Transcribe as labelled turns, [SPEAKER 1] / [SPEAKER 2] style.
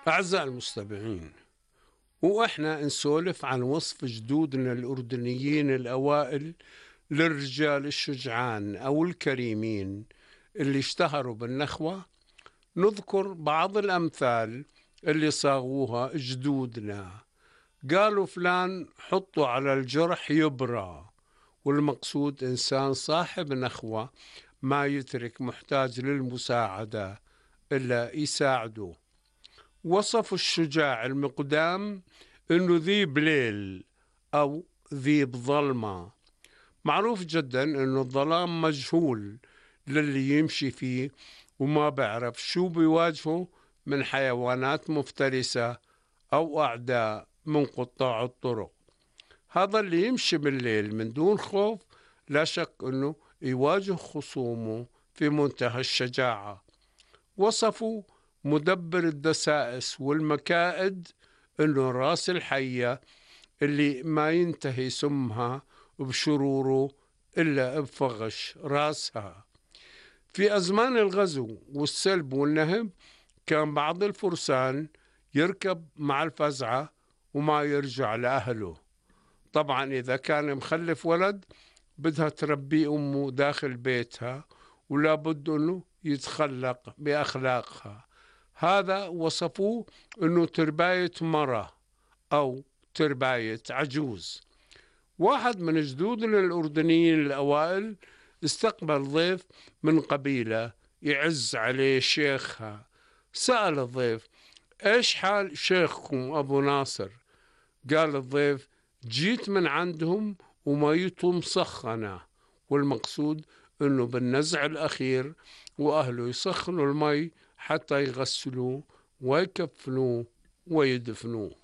[SPEAKER 1] أعزائي المستمعين، وإحنا نسولف عن وصف جدودنا الأردنيين الأوائل للرجال الشجعان أو الكريمين اللي اشتهروا بالنخوة، نذكر بعض الأمثال اللي صاغوها جدودنا. قالوا فلان حطوا على الجرح يبرى، والمقصود إنسان صاحب نخوة ما يترك محتاج للمساعدة إلا يساعده. وصفوا الشجاع المقدام إنه ذيب ليل أو ذيب ظلمة. معروف جدا إنه الظلام مجهول للي يمشي فيه وما بعرف شو بيواجهه من حيوانات مفترسة أو أعداء من قطاع الطرق. هذا اللي يمشي بالليل من دون خوف لا شك إنه يواجه خصومه في منتهى الشجاعة. وصفوا مدبر الدسائس والمكائد إنه راس الحية اللي ما ينتهي سمها بشروره إلا بفغش راسها. في أزمان الغزو والسلب والنهب كان بعض الفرسان يركب مع الفزعة وما يرجع لأهله. طبعا إذا كان مخلف ولد بدها تربي أمه داخل بيتها، ولا بد أنه يتخلق بأخلاقها. هذا وصفوه أنه ترباية مرة أو ترباية عجوز. واحد من جدودنا الأردنيين الأوائل استقبل ضيف من قبيلة يعز عليه شيخها. سأل الضيف: إيش حال شيخكم أبو ناصر؟ قال الضيف: جيت من عندهم وميته مسخنة، والمقصود أنه بالنزع الأخير وأهله يسخنوا المي حتى يغسلوه ويكفنوه ويدفنوه.